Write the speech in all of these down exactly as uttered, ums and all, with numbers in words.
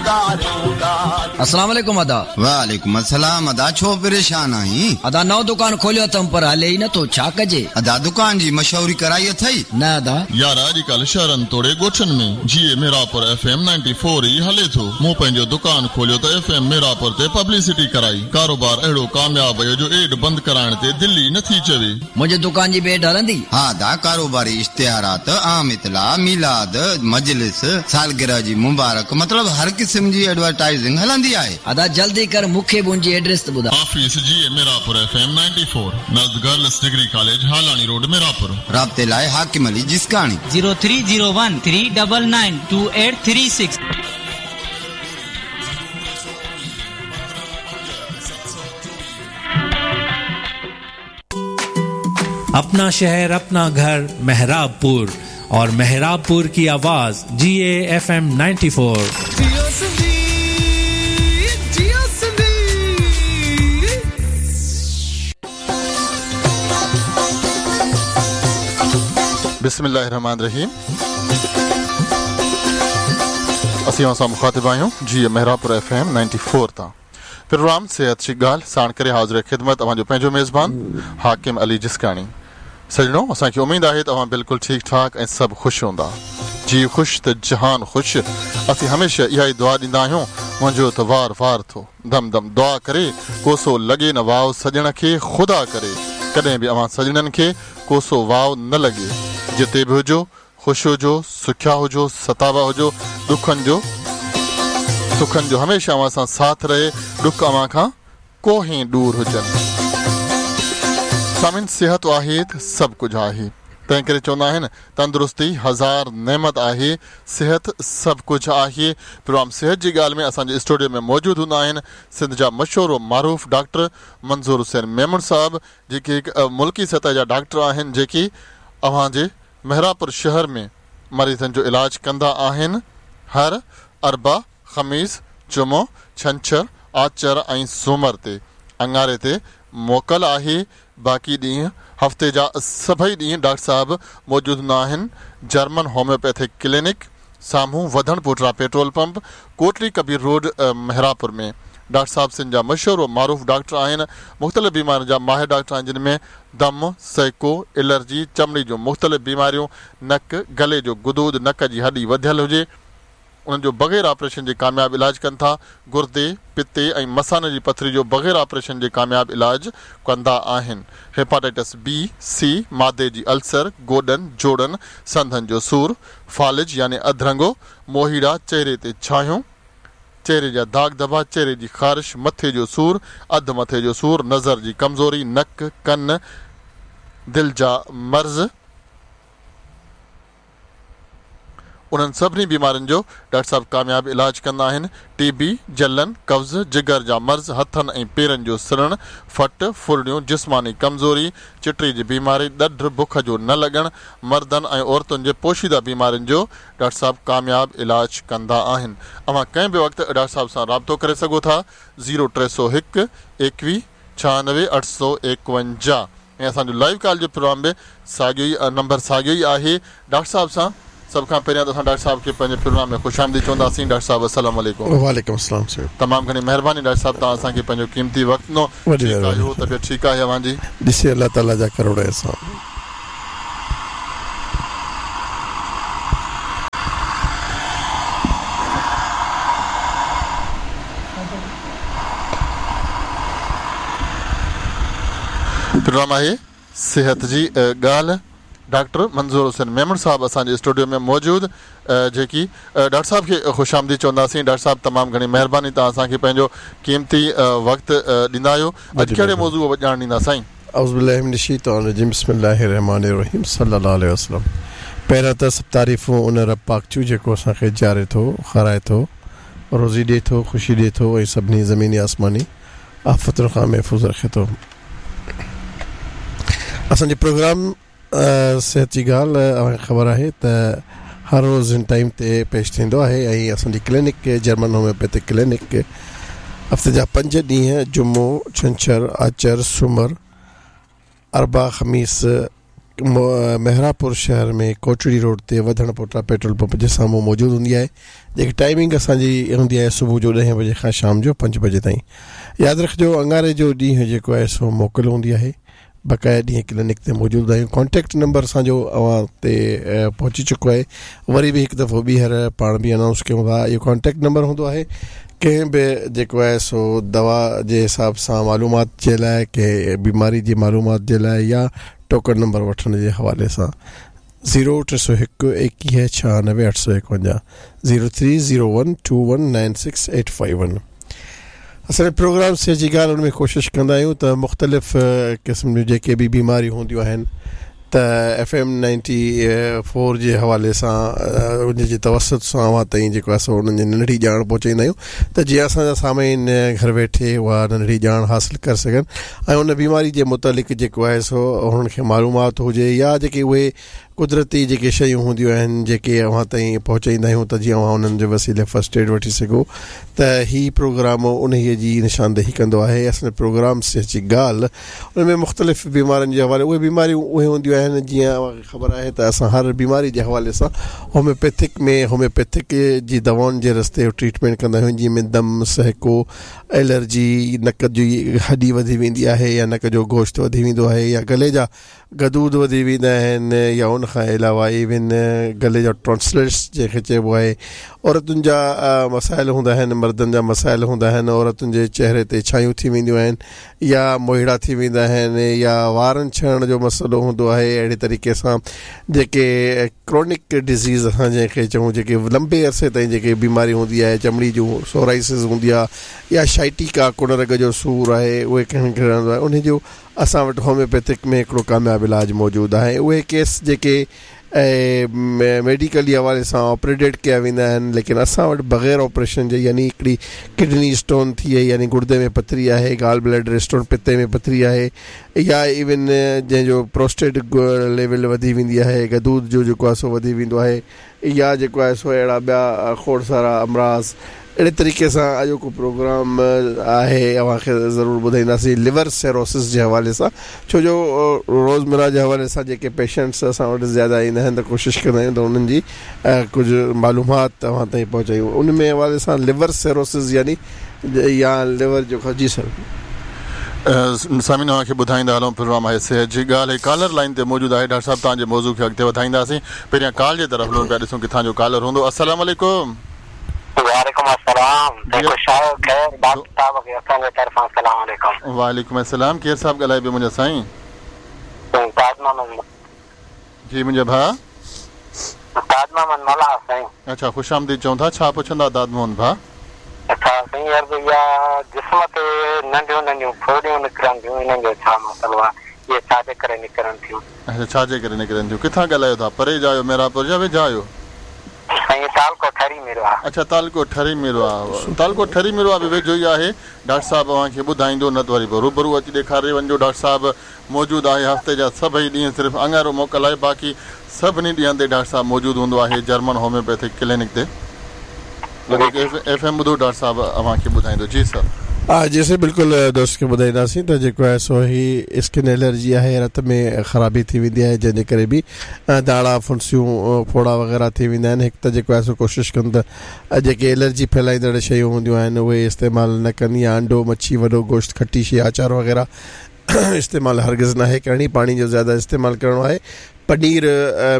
अस्सलाम वालेकुम अदा। वालेकुम अस्सलाम अदा, छो परेशान आहीं? अदा नओ दुकान खोलियो अथम पर हले ई नथो, छा कजे? अदा दुकान जी मशहूरी कराई अथई? न अदा। यार अॼुकल्ह शहरनि तोड़े ॻोठनि में जीए मेरापुर एफ एम चौरानवे ई हले थो। मूं पंहिंजो दुकान खोलियो त एफ एम मेरापुर ते पब्लिसिटी कराई। कारोबार अहिड़ो कामयाब वियो जो एड बंदि कराइण ते दिलि ई नथी चवे। मुंहिंजे दुकान जी बि एड हलंदी? हा अदा, कारोबारी इश्तिहारात, आम इतला, मीलाद, मजलिस, सालगिरह जी मुबारक, मतलब हर क़िस्म जी एडवर्टाइजिंग हलंदी आहे। अदा जल्दी कर, मूंखे बि उनजी एड्रेस त ॿुधाए। ऑफिस जीए मेरापुर एफ एम चौरानवे, नज़द girls degree college, Halani road, Mirapur. राब्ते लाइ Hakim Ali Jiskani. Zero three zero one three double nine two eight three six. अपना शहर अपना घर मेहराबपुर और मेहराबपुर की आवाज जी ए एफ एम चौरानवे। बिस्मिल्लाहिर्रहमानिर्रहीम। असीं असां मुखातिब आहियूं जी मेहराबपुर एफ एम चौरानवे तां। प्रोग्राम सेहत जी ॻाल्हि साण करे हाज़िर ख़िदमत अव्हांजो पंहिंजो मेज़बान हाकिम अली जिस्काणी। सजणो, असांखे उमेद आहे त अव्हां बिल्कुलु ठीकु ठाक ऐं सभु ख़ुशि हूंदा। जी ख़ुशि त जहान ख़ुशि। असीं हमेशह इहा ई दुआ ॾींदा आहियूं, मुंहिंजो त वार वार थो दम दम दुआ करे कोसो लॻे न वाव सॼण खे, ख़ुदा करे कॾहिं बि अव्हां सॼणनि खे कोसो वाव न लॻे। जिते बि हुजो ख़ुशि हुजो, सुखिया हुजो, सतावा हुजो, ॾुखनि जो सुखनि जो हमेशह अव्हां सां साथ रहे, ॾुख अव्हां खां कोहें दूर हुजनि। सामिन, सिहत आहे त सभु कुझु आहे, तंहिं करे चवंदा आहिनि तंदुरुस्ती हज़ार नेमत आहे, सिहत सभु कुझु आहे। प्रोग्राम सिहत जी ॻाल्हि में असांजे स्टूडियो में मौजूदु हूंदा आहिनि सिंध जा मशहूर व मारूफ़ डॉक्टर मंज़ूर हुसैन मेमण साहब, जेके हिकु मुल्की सतह जा डॉक्टर आहिनि, जेके अव्हांजे मेहराबपुर शहर में मरीज़नि जो इलाज कंदा आहिनि। हर अरबा, ख़मीस, जुमो, छंछर, आचर ऐं सोमर ते अंगारे ते मोकल आहे। बाक़ी ॾींहं हफ़्ते जा सभई ॾींहं डॉक्टर साहब मौजूदु हूंदा आहिनि। जर्मन होम्योपैथिक क्लिनिक साम्हूं Wadhan Pota petrol pump, Kotli Kabir road, Mehrabpur में। डॉक्टर साहब सिंध जा मशहूर व मारूफ़ डॉक्टर आहिनि। मुख़्तलिफ़ बीमारियुनि जा माहिर डॉक्टर आहिनि, जिन में दम, सैको, एलर्जी, चमड़ी जूं मुख़्तलिफ़ बीमारियूं, नक, गले जो गुदूद, नक जी हॾी वधियल हुजे, उन्हनि जो बग़ैर ऑपरेशन जे कामयाब इलाज कनि था। गुर्दे, पित्ते ऐं मसाने जी पथरी जो बग़ैर ऑपरेशन जे कामयाब इलाज कंदा आहिनि। हेपाटाइटिस बी, सी, मादे जी अल्सर, गोॾनि, जोड़नि, संधनि जो सूर, फ़ालिज यानी अधरंगो, मोहीड़ा, चेहरे ते छायूं, चेहरे जा दाग धबा, चेहरे जी ख़ारिश, मथे जो सूर, अधु मथे जो सूर, नज़र जी कमज़ोरी, नक, कन, दिलि जा मर्ज़, उन्हनि सभिनी बीमारियुनि जो डॉक्टर साहब कामयाब इलाज कंदा आहिनि। टीबी, जलन, कब्ज़, जिगर जा मर्ज़, हथनि ऐं पेरनि जो सड़णु, फट, फुरड़ियूं, जिस्मानी कमज़ोरी, चिटड़ी जी बीमारी, ॾढ, बुख जो न लॻणु, मर्दनि ऐं औरतुनि जे पोशीदा बीमारियुनि जो डॉक्टर साहब कामयाब इलाज कंदा आहिनि। अव्हां कंहिं बि वक़्तु डॉक्टर साहब सां राब्तो करे सघो था। ज़ीरो टे सौ हिकु एकवीह छानवे अठ सौ एकवंजाह। ऐं असांजो लाइव कॉल जो प्रोग्राम बि साॻियो ई नंबर साॻियो ई आहे। डॉक्टर साहब सां सभ खां पहिरियां त असां डॉक्टर साहब खे पंहिंजे प्रोग्राम में ख़ुशि आमदीद चवंदासीं। डॉक्टर साहब अस्सलाम वालेकुम। वालेकुम अस्सलाम सर। तमामु घणी महिरबानी डॉक्टर साहब, तव्हां असांखे पंहिंजो क़ीमती वक़्तु ॾिनो। ठीकु आहियो, तबियत ठीकु आहे अव्हांजी? ॾिसी अलाह ताला जा करोड़ एहसान। प्रोग्राम आहे सिहत जी ॻाल्हि। डॉक्टर मंज़ूर हुसैन मेमण साहब असांजे स्टूडियो में मौजूदु, जेकी डॉक्टर साहब खे ख़ुशि आमदीद चवंदासीं। डॉक्टर साहब तमामु घणी महिरबानी, तव्हां असांखे पंहिंजो क़ीमती वक़्तु ॾींदा आहियो। अॼु कहिड़े मौज़ू ॼाण ॾींदा साईं? औज़ु बिल्लाहि मिनश-शैतानिर-रजीम, बिस्मिल्लाहिर्रहमानिर्रहीम, सल्लल्लाहु अलैहि वसल्लम। पहिरियां त सभु तारीफ़ूं उन रब पाक जूं जेको असांखे जीआरे थो, खाराए थो, रोज़ी ॾिए थो, ख़ुशी ॾिए थो ऐं सभिनी ज़मीनी आसमानी आफ़तुनि खां महफ़ूज़ रखे थो। असांजो प्रोग्राम सिहत जी ॻाल्हि अव्हांखे ख़बर आहे त हर रोज़ हिन टाइम ते पेश थींदो आहे ऐं असांजी क्लिनिक जर्मन होम्योपैथिक क्लिनिक हफ़्ते जा पंज ॾींहं जुमो, छंछर, आचर, सुमर, अरबा, ख़मीस मेहरापुर शहर में कोटड़ी रोड ते वधण पोटा पेट्रोल पंप जे साम्हूं मौजूदु हूंदी आहे। जेकी टाइमिंग असांजी हूंदी आहे सुबुह जो ॾहें बजे खां शाम जो पंज बजे ताईं। यादि रखिजो अंगारे जो ॾींहुं जेको आहे सो मोकिल हूंदी आहे, बक़ाया ॾींहं क्लिनिक ते मौजूदु आहियूं। कॉन्टेक्ट नंबर असांजो अव्हां ते पहुची चुको आहे, वरी बि हिकु दफ़ो ॿीहर पाण बि अनाउंस कयूं था। इहो कॉन्टेक्ट नंबर हूंदो आहे कंहिं बि जेको आहे सो दवा जे हिसाब सां मालूमात जे लाइ, कंहिं बीमारी जी मालूमात जे लाइ या टोकन नंबर वठण जे हवाले सां। ज़ीरो टे सौ हिकु एकवीह छियानवे अठ सौ एकवंजाह, zero three zero one two one nine six eight five one. असांजे प्रोग्राम से जी ॻाल्हि उन में कोशिशि कंदा आहियूं त मुख़्तलिफ़ क़िस्म जूं जेके बि बीमारियूं हूंदियूं आहिनि त एफ एम नाइंटी फोर जे हवाले सां उन जे तवसुत सां अव्हां ताईं जेको आहे सो उन्हनि जी नंढड़ी ॼाण पहुचाईंदा आहियूं त जीअं असांजा सामीन घर वेठे उहा नंढड़ी ॼाण हासिलु करे सघनि ऐं उन बीमारी जे मुतालिक़ जेको आहे सो हुननि खे मालूमात हुजे या जेके उहे कुदरती जेके शयूं हूंदियूं आहिनि जेके अव्हां ताईं पहुचाईंदा आहियूं त जीअं अव्हां उन्हनि जे वसीले फर्स्ट एड वठी सघो। त ही प्रोग्राम उन जी निशानदेही कंदो आहे। असांजे प्रोग्राम से जी ॻाल्हि उन में मुख़्तलिफ़ बीमारियुनि जे हवाले, उहे बीमारियूं उहे हूंदियूं आहिनि जीअं अव्हांखे ख़बर आहे त असां हर बीमारी जे हवाले सां होम्योपैथिक में होम्योपैथिक जी दवाउनि जे रस्ते ट्रीटमेंट कंदा आहियूं, जंहिं में दम, सहको, एलर्जी, नक जी हॾी वधी वेंदी आहे या नक जो गोश्त वधी वेंदो आहे या गले जा गदूद वधी वेंदा आहिनि या उन खां अलावा इवन गले जा टॉन्सिल्स जंहिंखे चइबो आहे, औरतुनि जा मसाइल हूंदा आहिनि, मर्दनि जा मसाइल हूंदा आहिनि, औरतुनि जे चेहरे ते छायूं थी वेंदियूं आहिनि या मोहिड़ा थी वेंदा आहिनि या वारनि छणण जो मसइलो हूंदो आहे। अहिड़े तरीक़े सां जेके क्रॉनिक डिज़ीज़ असां जंहिंखे चऊं, जेके लंबे अरसे ताईं जेके बीमारी हूंदी आहे, चमड़ी जूं सोराइसिस हूंदी आहे या शाइटिका कुणरग जो सूर आहे, उहे कंहिं खे रहंदो आहे, उन जो असां वटि होम्योपैथिक में हिकिड़ो कामयाबु इलाजु मौजूदु आहे। उहे केस जेके मेडिकली हवाले सां ऑपरेटेड कया वेंदा आहिनि, लेकिन असां वटि बग़ैर ऑपरेशन जे, यानी हिकिड़ी किडनी स्टोन थी वई, यानी गुर्दे में पथरी आहे, गाल ब्लैडर स्टोन पित्ते में पथरी आहे या इवन जंहिंजो प्रोस्टेट लेवल वधी वेंदी आहे, गदूद जो जेको आहे सो वधी वेंदो आहे या जेको आहे सो अहिड़ा ॿिया खोड़ सारा अमराज़। अहिड़े तरीक़े सां अॼोको प्रोग्राम आहे, अव्हांखे ज़रूरु ॿुधाईंदासीं लिवर सेरोसिस जे हवाले सां, छो जो रोज़मर्रा जे हवाले सां जेके पेशेंट्स असां वटि ज़्यादा ईंदा आहिनि त कोशिशि कंदा आहियूं त उन्हनि जी कुझु मालूमात तव्हां ताईं पहुचायूं। उन में हवाले सां लिवर सेरोसिस यानी या लिवर जो। जी सर। सामीन अव्हांखे ॿुधाईंदा हलूं प्रोग्राम आहे सिहत जी ॻाल्हि। कॉलर लाइन ते मौजूदु आहे डॉक्टर साहिबु, तव्हांजे मौज़ू खे अॻिते वधाईंदासीं। पहिरियां कॉल जे तरफ़ हलूं पिया, ॾिसूं किथां जो कॉलर हूंदो। अस्सलाम वालेकुम। वालेकुम अस्सलाम। खैर डॉक्टर साहब खे असांजे तरफ़ां सलाम अलैकुम। वालेकुम अस्सलाम। केरु साहिबु ॻाल्हाए पियो मुंहिंजा साईं? ताज मोहम्मद। जी मुंहिंजा भाउ ताज मोहम्मद मलाह साईं। अच्छा, ख़ुशि आमदीद चऊं था। छा पुछंदा दाद मोहम्मद भाउ? अच्छा साईं, अर्ज़ इहा जिस्म ते नंढियूं नंढियूं फोड़ियूं निकिरनि थियूं, इन्हनि जो छा मसइलो आहे? इहे छा जे करे निकिरनि थियूं? अच्छा, छा जे करे निकिरनि थियूं? किथां ॻाल्हायो था? परे जा आहियो, मेहराबपुर जा वेझा आहियो? साईं तालको ठरी मेरो आहे। अच्छा, तालको ठरी मेरो आहे। तालको ठरी मेरो आहे बि वेझो ई आहे। डॉक्टर साहिबु अव्हांखे ॿुधाईंदो, न त वरी पोइ रूबरू अची ॾेखारे वञिजो। डॉक्टर साहिबु मौजूदु आहे हफ़्ते जा सभई ॾींहं, सिर्फ़ु अंगारो मोकल आहे, बाक़ी सभिनी ॾींहनि ते डॉक्टर साहिबु मौजूदु हूंदो आहे जर्मन होम्योपैथिक क्लिनिक ते। वधीक एफ एम ॿुधो, डॉक्टर साहिबु अव्हांखे ॿुधाईंदो। जी सर। हा जी बिल्कुलु दोस्त खे ॿुधाईंदासीं त जेको आहे सो ही स्किन एलर्जी आहे, रत में ख़राबी थी वेंदी आहे, जंहिंजे करे बि दाणा फुंसियूं फोड़ा वग़ैरह थी वेंदा आहिनि। हिकु त जेको आहे सो कोशिशि कनि त जेके एलर्जी फैलाईंदड़ शयूं हूंदियूं आहिनि उहे इस्तेमालु न कनि, या अंडो, मच्छी, वॾो गोश्त, खटी शइ, आचार वग़ैरह इस्तेमालु हरगिज़ नाहे करणी। पाणी जो ज़्यादा इस्तेमालु करिणो आहे। पनीर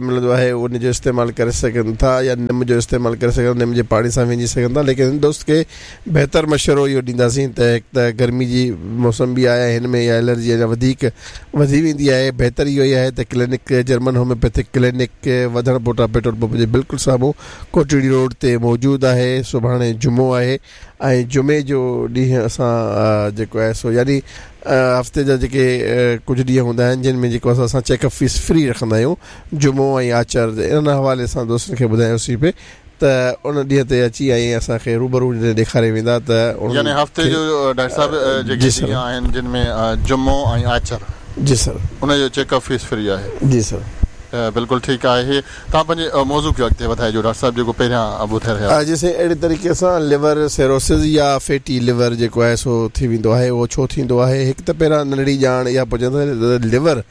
मिलंदो आहे उनजो इस्तेमालु करे सघनि था या निम जो इस्तेमालु करे सघनि, निम जे पाणी सां विझी सघनि था। लेकिन दोस्त खे बहितर मशवरो इहो ॾींदासीं त हिकु त गर्मी जी मौसम बि आहे, हिन में इहा एलर्जी अञा वधीक वधी वेंदी आहे। बहितर इहो ई आहे त क्लिनिक जर्मन होम्योपैथिक क्लिनिक वधण पोटा पेट्रोल पंप जे बिल्कुलु साम्हूं कोटड़ी रोड ते मौजूदु आहे। सुभाणे जुमो आहे ऐं जुमे जो ॾींहुं असां जेको आहे सो यानी हफ़्ते जा जेके कुझु ॾींहं हूंदा आहिनि जिन में जेको असां चेकअप फीस फ्री रखंदा आहियूं, जुमो ऐं आचर। इन हवाले सां दोस्तनि खे ॿुधायोसीं पिए त उन ॾींहं ते अची ऐं असांखे रूबरू ॾेखारे वेंदा त यानी हफ़्ते जो डॉक्टर साहिबु जेके ॾींहं आहिनि जिन में जुमो ऐं आचर, जी सर, उन जो चेकअप फीस फ्री आहे। जी सर। बिल्कुलु ठीकु आहे। तव्हां पंहिंजे मौज़ू खे अॻिते वधाइजो डॉक्टर साहिबु, जेको पहिरियां ॿुधाए रहिया। जैसे अहिड़े तरीक़े सां लिवर सिरोसिस या फैटी लिवर जेको आहे सो थी वेंदो आहे। उहो छो थींदो आहे? हिकु त पहिरियां नंढड़ी ॼाण इहा पुछंदा लिवर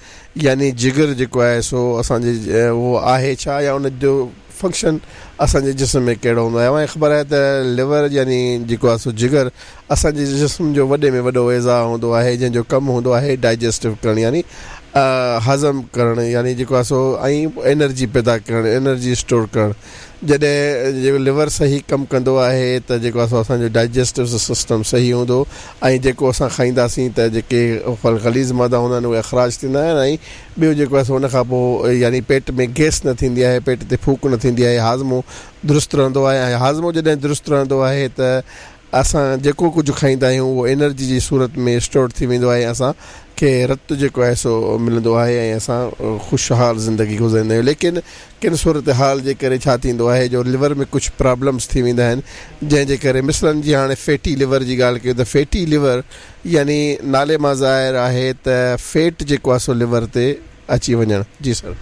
यानी जिगर जेको आहे सो असांजे उहो आहे छा या उन जो फंक्शन असांजे जिस्म में कहिड़ो हूंदो आहे। अव्हांखे ख़बर आहे त लिवर यानी जेको आहे सो जिगर असांजे जिस्म जो वॾे में वॾो एज़ा हूंदो आहे, जंहिंजो कमु हूंदो आहे डाइजेस्टिव करणु यानी हज़म करणु, यानी जेको आहे सो ऐं एनर्जी पैदा करणु, एनर्जी स्टोर करणु। जॾहिं जेको लिवर सही कमु कंदो आहे त जेको आहे सो असांजो डाइजेस्टिव सिस्टम सही हूंदो ऐं जेको असां खाईंदासीं त जेके ग़लीज़ मादा हूंदा आहिनि उहे अख़राज थींदा आहिनि ऐं ॿियो जेको आहे सो उन खां पोइ यानी पेट में गैस न थींदी आहे, पेट ते फूक न थींदी आहे, हाज़मो दुरुस्त रहंदो आहे। ऐं हाज़मो जॾहिं दुरुस्त रहंदो आहे त असां जेको कुझु खाईंदा आहियूं उहो एनर्जी जी सूरत में स्टोर थी वेंदो आहे, असांखे रत जेको आहे सो मिलंदो आहे ऐं असां ख़ुशहाल ज़िंदगी गुज़ारींदा आहियूं। लेकिन किन सूरत हाल जे करे छा थींदो आहे जो लिवर में कुझु प्रॉब्लम्स थी वेंदा आहिनि, जंहिंजे करे मिसलन जी हाणे फैटी लिवर जी ॻाल्हि कयूं त फैटी लिवर यानी नाले मां ज़ाहिर आहे त फैट जेको आहे सो लिवर ते अची वञणु। जी सर।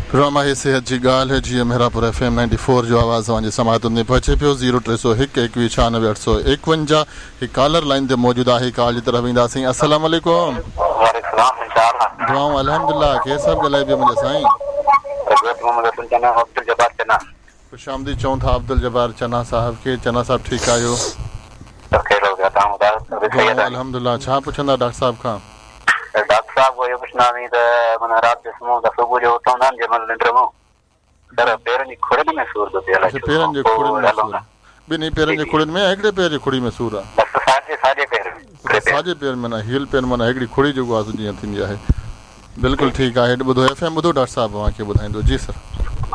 प्रोग्राम आहे सेहत जी ॻाल्हि, जीअं Mehrabpur F M ninety four जो आवाज़ तव्हांजे समाअतुनि में पहुचे पियो। ज़ीरो टे सौ हिकु एकवीह छियानवे अठ सौ एकवंजाह हिकु कॉलर लाइन ते मौजूदु आहे, कॉल जी तरफ़ ईंदासीं। अस्सलाम वालेकुम। दुआऊं अल्हम्दुलिल्लाह। केरु साहिबु ॻाल्हाए पियो मुंहिंजा साईं? ख़ुशि आमदीद चऊं था अब्दुल जब्बार चना साहिब खे। चना साहिबु ठीकु आहियो? अल्हम्दुलिल्लाह। छा पुछंदा डॉक्टर साहिब खां? डॉक्टर साहब को इहो पुछंदासीं त माना राति जो सुम्हूं त सुबुह जो उथंदा आहिनि जंहिं महिल निंड मां, सर पेरनि जी खुड़नि में सूर थो थिए। अच्छा, पेरनि जे खुड़नि में सूर? ॿिन्ही पेरनि जे खुड़नि में या हिकिड़े पेर जी खुड़ी में सूर आहे? बसि साॼे साॼे पेर में। साॼे पेर में माना हील पेर माना हिकिड़ी खुड़ी जेको आहे जीअं थींदी आहे। बिल्कुलु ठीकु आहे। ॿुधो एफ एम ॿुधो डॉक्टर साहिबु तव्हांखे ॿुधाईंदो। जी सर।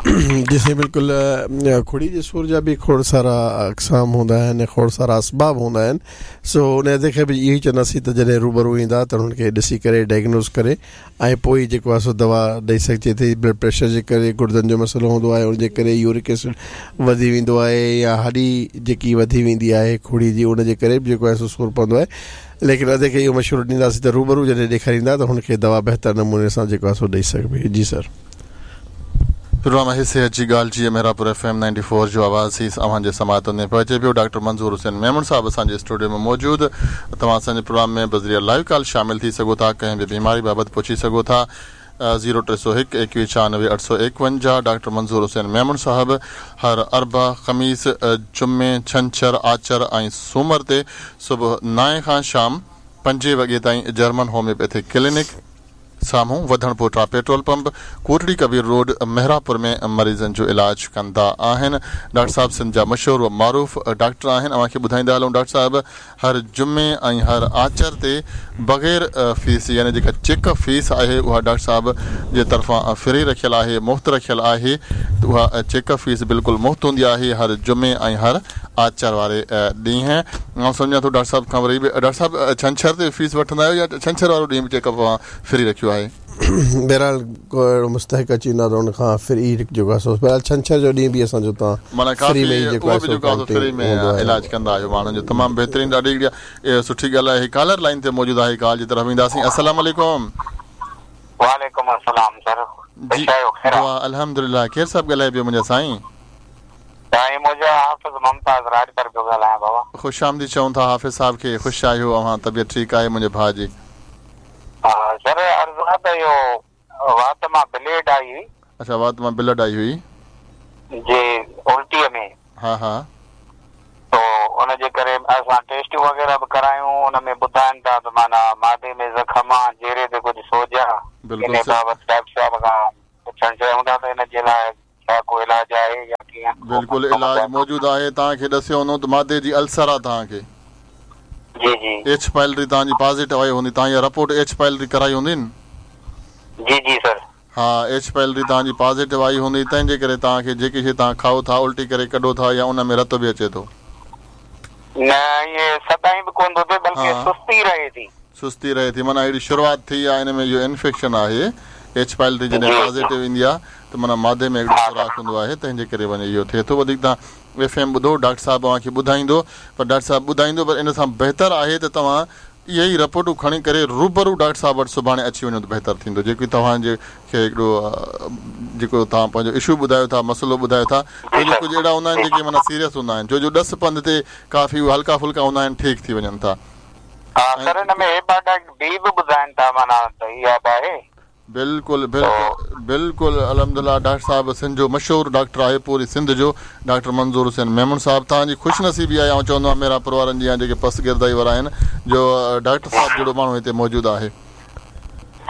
जी साईं बिल्कुलु। खुड़ी जे सूर जा बि खोड़ सारा अक़साम हूंदा आहिनि, खोड़ सारा असबाब हूंदा आहिनि। सो उन खे बि इहो ई चवंदासीं त जॾहिं रूबरू ईंदा त हुनखे ॾिसी करे डायग्नोज़ करे ऐं पोइ जेको आहे सो दवा ॾेई सघिजे थी। ब्लड प्रेशर जे करे गुर्दनि जो मसइलो हूंदो आहे, उनजे करे यूरिक एसिड वधी वेंदो आहे या हॾी जेकी वधी वेंदी आहे खुड़ी जी, उनजे करे बि जेको आहे सो सूर पवंदो आहे। लेकिन अदे खे इहो मशवरो ॾींदासीं त रूबरू जॾहिं ॾेखारींदा त हुनखे दवा बहितर नमूने सां जेको आहे सो ॾेई सघिबी। जी सर। प्रोग्राम आहे सेहत जी ॻाल्हि, जीअं Mehrabpur F M ninety four जो आवाज़ ही अव्हांजे समाअतुनि में पहुचे पियो। डॉक्टर मंज़ूर हुसैन मेमण साहिबु असांजे स्टूडियो में मौजूदु। तव्हां असांजे प्रोग्राम में बज़रिया लाइव कॉल शामिल थी सघो था, कंहिं बि बीमारी बाबति पुछी सघो था। ज़ीरो टे सौ हिकु एकवीह छियानवे अठ सौ एकवंजाह। डॉक्टर मंज़ूर हुसैन मेमण साहिबु हर अरबा, ख़मीस, जुमे, छंछर, आचर ऐं सूमर ते सुबुह नाए खां शाम पंजे वॻे ताईं जर्मन होम्योपैथिक क्लिनिक साम्हूं वधणपोटा petrol pump, Kotri Kabir road, Mehrapur में मरीज़नि जो इलाज कंदा आहिनि। डॉक्टर साहिबु सिंध जा मशहूर व मारूफ़ डॉक्टर आहिनि। अव्हांखे ॿुधाईंदा हलूं डॉक्टर साहिबु हर जुमे ऐं हर आचर ते बग़ैर फीस यानी जेका चेकअप फीस आहे उहा डॉक्टर साहिब जे तरफ़ां फ्री रखियल आहे, मुफ़्त रखियल आहे। त उहा चेकअप फीस बिल्कुलु मुफ़्त हूंदी आहे हर जुमे ऐं हर आचर वारे ॾींहुं। मां सम्झां थो डॉक्टर साहिब खां वरी बि डॉक्टर साहिबु छंछर ते फीस वठंदा आहियो या छंछर वारो ॾींहुं बि चेकअप तव्हां फ्री रखियो आहे? बहरहाल को अहिड़ो मुस्तहिक़ अची वेंदो आहे त हुनखां फ्री जेको आहे सो बहरहाल छंछर जो ॾींहुं बि असांजो तव्हां माना काफ़ी उहो बि जेको आहे फ्री में इलाज कंदा आहियो माण्हुनि जो। तमामु बहितरीनु, ॾाढी हिकिड़ी सुठी ॻाल्हि आहे। कॉलर लाइन ते मौजूदु आहे, कॉल जी तरफ़ ईंदासीं। अस्सलाम वालेकुम। वालेकुम अस्सलाम सर। जी अल्हम्दुलिल्लाह। केरु साहिबु ॻाल्हाए पियो मुंहिंजा साईं? साईं मुंहिंजो हाफ़िज़ मुमताज़ राजपर पियो ॻाल्हायां बाबा। ख़ुशि आमदीद चऊं था हाफ़िज़ साहिब खे। ख़ुशि आहियो अव्हां? तबियत ठीकु आहे मुंहिंजे भाउ जी? हा सर, अर्ज़ु आहे त इहो वात मां ब्लेड आई हुई। अच्छा, वात मां ब्लड आई हुई जी उल्टीअ में। हा हा। तो उन जे करे असां टेस्ट वग़ैरह बि करायूं, उन में ॿुधाइनि था त माना मादे में ज़ख़म आहे, चेहरे ते कुझु सोज आहे। बिल्कुलु। इन बाबति डॉक्टर साहिब खां पुछणु चाहियूं था त इन जे लाइ छा को इलाज आहे या कीअं? बिल्कुलु इलाज मौजूदु आहे। तव्हांखे ॾसियो हूंदो त मादे जी अल्सर आहे तव्हांखे। जी जी। एच पाइलरी तव्हांजी पॉज़िटिव आई हूंदी, तव्हां इहा रिपोर्ट एच पाइलरी कराई हूंदी न? जी जी सर। हा, एच पाइलरी तव्हांजी पॉज़िटिव आई हूंदी, तंहिंजे करे तव्हांखे जेकी शइ तव्हां खाओ था उल्टी करे कढो था या उन में रत बि अचे थो? न, इहे सदाईं बि कोन थो थिए, बल्कि सुस्ती रहे थी। सुस्ती रहे थी माना अहिड़ी शुरूआत थी आहे, हिन में इहो इन्फेक्शन आहे। एच पाइलरी जॾहिं पॉज़िटिव ईंदी आहे त माना मादे में हिकिड़ो सुराख हूंदो आहे, तंहिंजे करे वञे इहो थिए थो। वधीक तव्हां एफ एम ॿुधो, डॉक्टर साहिबु तव्हांखे ॿुधाईंदो। पर डॉक्टर साहिबु ॿुधाईंदो, पर इन सां बहितर आहे त तव्हां اهي ئي رپورٽون کڻي ڪري روبرو ڊاڪٽر صاحب وٽ سڀاڻي اچي وڃو ته بهتر ٿيندو. جيڪي توهان جي کي هڪڙو جيڪو توهان پنهنجو اشو ٻڌايو ٿا، مسئلو ٻڌايو ٿا، ڇو جو ڪجهه اهڙا هوندا آهن جيڪي معنيٰ سيريس هوندا آهن، ڇو جو ڏس پنڌ تي ڪافي هلڪا ڦلڪا هوندا آهن، ٺيڪ ٿي وڃن ٿا. ها سر هن ۾ هيپاٽائٽس بي به ٻڌائن ٿا معنيٰ ته اها به آهي. بلڪل بلڪل بلڪل الحمدلله ڊاڪٽر صاحب سنڌ جو مشهور ڊاڪٽر آهي، پوري سنڌ جو ڊاڪٽر منظور حسين ميمڻ صاحب. توهان جي خوش نصيبي آهي، آئون چوندو آهيان ميرانپور وارن جي يا جيڪي پسگردائي وارا آهن جو ڊاڪٽر صاحب جهڙو ماڻهو هتي موجود آهي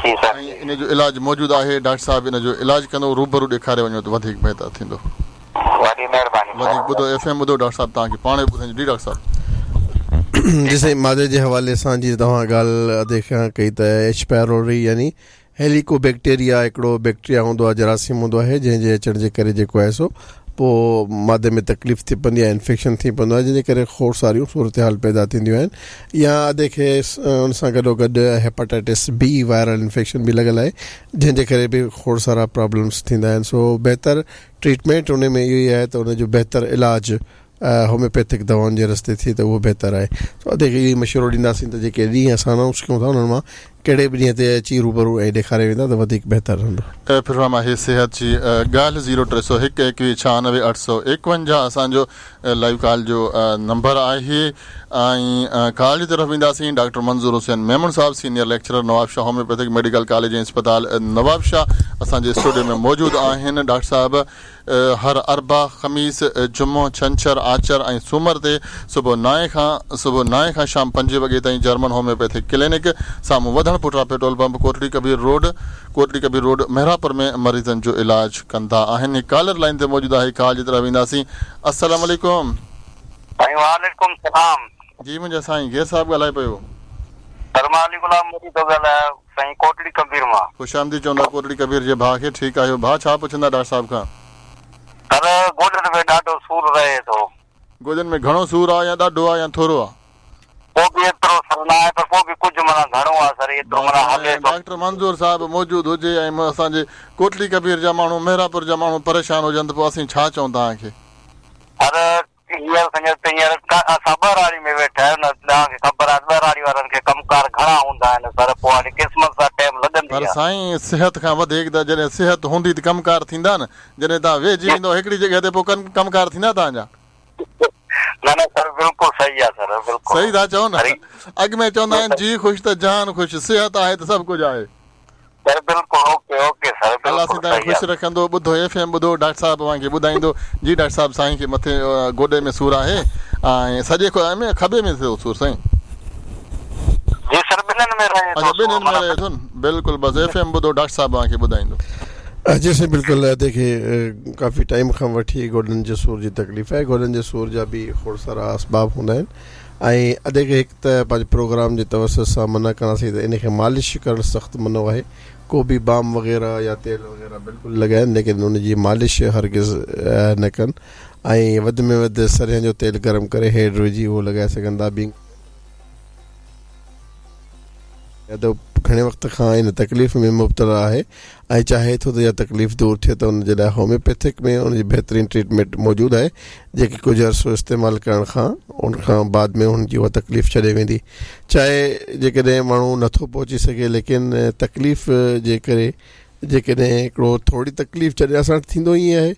۽ ان جو علاج موجود آهي. ڊاڪٽر صاحب ان جو علاج ڪندو، روبرو ڏيکاري وڃو ته وڌيڪ بهتر ٿيندو. وڏي مهرباني. وڌيڪ ٻڌو ايف ايم ٻڌو ڊاڪٽر صاحب توهان کي پاڻ ئي ٻڌائيندو. جي ڊاڪٽر صاحب. جي سائين مادي جي حوالي سان جي توهان ڳالهه ادي کان ڪئي ته ايڇ پيروري يعني هيليڪو بيڪٽيريا هڪڙو بيڪٽيريا هوندو آهي، جراثيم هوندو آهي، جنهن جي اچڻ جي ڪري جيڪو آهي سو پوءِ مادي ۾ تڪليف ٿي پوندي آهي، انفيڪشن ٿي پوندو آهي، جنهن جي ڪري کوڙ ساريون صورت حال پيدا ٿينديون آهن. يا ادي کي ان سان گڏو گڏ هيپاٽائٽس بي وائرل انفيڪشن به لڳل آهي، جنهن جي ڪري به کوڙ سارا پرابلمس ٿيندا آهن. سو بهتر ٽريٽمينٽ ان ۾ اهو ئي آهي ته ان جو بهتر علاج هوميوپيٿڪ دوائن جي رستي ٿئي ته اهو بهتر آهي. سو ادي کي اهو ئي مشورو ڏينداسين ته جيڪي ڏينهن اسان انائونس ڪيون ٿا انهن مان ڪهڙي به ڏينهن تي اچي روبرو ۽ ڏيکاري ويندا ته وڌيڪ بهتر رهندو. پروگرام آهي صحت جي ڳالهه زيرو ٽي سؤ هڪ ايڪويهه ڇهانوي اٺ سؤ ايڪونجاهه اسان جو لائيو ڪال جو نمبر آهي ۽ ڪال جي طرف وينداسين. ڊاڪٽر منظور حسين ميمڻ صاحب senior lecturer Nawabshah homeopathic medical college ۽ اسپتال نوابشاهه اسان جي اسٽوڊيو ۾ موجود آهن. ڊاڪٽر صاحب هر اربع، خميس، جمعو، ڇنڇر، آچر ۽ سومر تي صبح نائين کان صبح نائين کان شام پنجين وڳي تائين جرمن هوميوپيٿڪ ڪلينڪ سامهون وڌڻ پٽرا petrol pump Kotri Kabir road Kotri Kabir road Mehrabpur ۾ مريضن جو علاج ڪندا آهن. ڪالر لائن تي موجود آهي، ڪال جي طرف وينداسين. السلام عليڪم. سائين وعليڪم سلام. جي منهنجا سائين گير صاحب ڳالهائي پيو. سر مان علي غلام مري ٿو ڳالهايان سائين ڪوٽڙي ڪبير مان. خوش آمديد چوندا ڪوٽڙي ڪبير جي ڀاءُ کي. ٺيڪ آهيو ڀاءُ؟ ڇا پڇندا ڊاڪٽر صاحب کان؟ سر گوڏن ۾ ڏاڍو سور رهي ٿو. گوڏن ۾ گهڻو سور آهي يا ڏاڍو آهي يا ٿورو آهي؟ پوءِ به ايترو سر نه آهي پر پوءِ به ڪجهه معنيٰ گهڻو آهي سر، ايترو معنيٰ هلي ٿو. ڊاڪٽر منظور صاحب موجود هجي ۽ اسان جي ڪوٽڙي ڪبير جا ماڻهو مهراپور جا ماڻهو پريشان هجن ته پوءِ اسين ڇا چئون توهان کي؟ سر هينئر سمجهو ته هينئر اسان ٻهراڙي ۾ ويٺا آهيون نه، توهان کي خبر آهي ٻهراڙي وارن کي ڪم ڪار گهڻا هوندا آهن سر، پوءِ هاڻي قسمت سان ٽائيم لڳندي پر آهي. سائين صحت کان وڌيڪ ته جڏهن صحت هوندي ته ڪم ڪار ٿيندا نه، جڏهن توهان ويهجي ويندو هڪڙي جڳهه تي پوءِ ڪم ڪار ٿيندا توهان جا؟ نه نه سر بلڪل صحيح آهي سر، بلڪل صحيح ٿا چئو نه. اڳ ۾ چوندا آهن جي خوش ته جان خوش، صحت آهي ته سڀ ڪجهه آهي. سر بلڪل اوڪي اوڪي سر، الله سائين توهان کي خوش رکندو. ٻڌو ايف ايم ٻڌو، ڊاڪٽر صاحب اوهان کي ٻڌائيندو. جي ڊاڪٽر صاحب سائين کي مٿي گوڏي ۾ سور آهي ۽ سڄي ۾ کٻي ۾ ٿيو سور سائين؟ جي سر ٻنهن ۾ رهي ٿو. اڇا ٻنهن ۾ رهي ٿو نه، بلڪل. بس ايف ايم ٻڌو، ڊاڪٽر صاحب اوهان کي ٻڌائيندو. جي سائين بلڪل ادي کي ڪافي ٽائيم کان وٺي گوڏن جي سور جي تڪليف آهي. گوڏن جي سور جا به کوڙ سارا اسباب هوندا آهن ۽ ادي کي هڪ ته پنهنجي پروگرام جي توسط سان منع ڪنداسين ته ان کي مالش ڪرڻ سخت منع آهي. ڪو به بام وغيره يا تيل وغيره بلڪل لڳائن، ليڪن ان جي مالش هرگز نه ڪن ۽ وڌ ۾ وڌ سرهن جو تيل گرم ڪري هيڊ وجهي اهو لڳائي سگهن ٿا. ٻي ته گهڻي وقت کان ان تڪليف ۾ مبتلا آهي ۽ چاهي ٿو ته اها تڪليف دور ٿئي ته ان جي لاءِ هوميوپيٿڪ ۾ ان جي بهترين ٽريٽمينٽ موجود آهي، جيڪي ڪجهه عرصو استعمال ڪرڻ کان ان کان بعد ۾ هن جي اها تڪليف ڇڏي ويندي. چاهي جيڪڏهن ماڻهو نٿو پهچي سگهي ليڪن تڪليف جي ڪري جيڪڏهن هڪڙو ٿوري تڪليف جڏهن اسان وٽ ٿيندو ائين آهي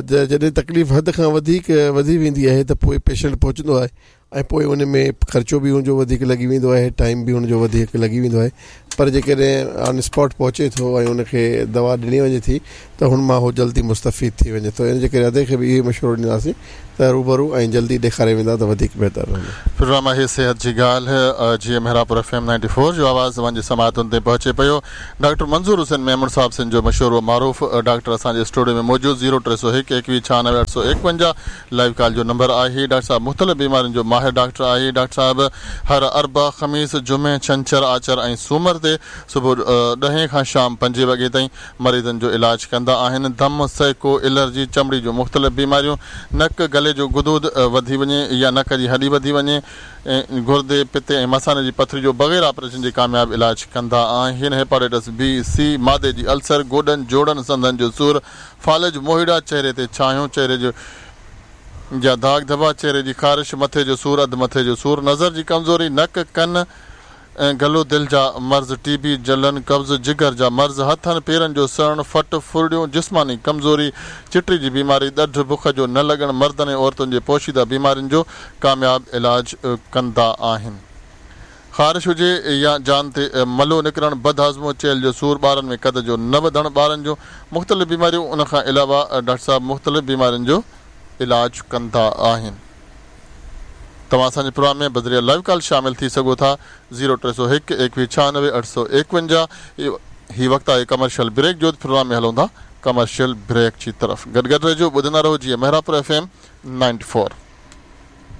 ته جڏهن تڪليف حد کان وڌيڪ وڌي ويندي آهي ته پوءِ پيشنٽ پهچندو آهي ۽ پوءِ ان ۾ خرچو به هن جو وڌيڪ لڳي ويندو آهي، ٽائيم به هن جو وڌيڪ لڳي ويندو آهي. پر جيڪڏهن آن اسپاٽ پهچي ٿو ۽ ان کي دوا ڏني وڃي ٿي ته هن مان هو جلدي مستفيد ٿي وڃي ٿو. ان جي ڪري ادي کي به اهو مشورو ڏينداسين ته روبرو ۽ جلدي ڏيکاري ويندا ته وڌيڪ بهتر رهندو. پروگرام آهي صحت جي ڳالهه، جيئن Mehrabpur F M ninety four جو آواز اوهان جي سماعتن تي پهچي پيو. ڊاڪٽر منظور حسين ميمڻ صاحب سنڌ جو مشهور و معروف ڊاڪٽر اسان جي اسٽوڊيو ۾ موجود. زيرو ٽي سؤ هڪ ايڪويهه ڇهانوي اٺ سؤ ايڪونجاهه لائيو ڪال جو نمبر آهي. ڊاڪٽر صاحب مختلف بيمارين جو ماهر ڊاڪٽر آهي. ڊاڪٽر صاحب هر اربع، خميس، جمعي، ڇنڇر، آچر ۽ سومر تي صبح ڏهين کان شام پنجين وڳي تائين مريضن جو علاج ڪندا آهن. دم، سيڪو، الرجي، چمڙي جون مختلف بيماريون، نڪ گلي جو غدود وڌي وڃي يا نڪ جي هڏي وڌي وڃي، گردي، پتي ۽ مثاني جي پٿري جو بغير آپريشن جي ڪامياب علاج ڪندا آهن. هيپاٽائٽس بي، سي، مادي جي السر، گوڏن، جوڙن، سنڌن جو سور، فالج، موهيڙا، چهري تي ڇايون، چهري جو جا داغ ڌٻا، چهري جي خارش، مٿي جو سور، اڌ مٿي جو سور، نظر جي ڪمزوري، نڪ، ڪن गलो, दिलि जा मर्ज़, टीबी, जलन, कब्ज़, जिगर जा मर्ज़, हथनि पेरनि जो सड़णु, फट, फुरड़ियूं, जिस्मानी कमज़ोरी, चिटड़ी जी बीमारी, ॾढ, बुख जो न लॻणु, मर्दनि ऐं औरतुनि जे पोशीदा बीमारियुनि जो कामयाब इलाज कंदा आहिनि। ख़ारिश हुजे या जान ते मलो निकिरणु, बदहाज़मो, चेल जो सूर, ॿारनि में कद जो न वधणु, ॿारनि जूं मुख़्तलिफ़ बीमारियूं, उन खां अलावा डॉक्टर साहिबु मुख़्तलिफ़ बीमारियुनि जो इलाज कंदा आहिनि। तव्हां असांजे प्रोग्राम में बज़रिया लाइव कॉल शामिल थी सघो था। ज़ीरो टे सौ हिकु एकवीह छानवे अठ सौ एकवंजाह। हीउ वक़्तु आहे कमर्शियल ब्रेक जो, प्रोग्राम में हलूं था कमर्शियल ब्रेक जी तरफ़। गॾु गॾु रहिजो, ॿुधंदा रहो जीअं Mehrabpur F M ninety four.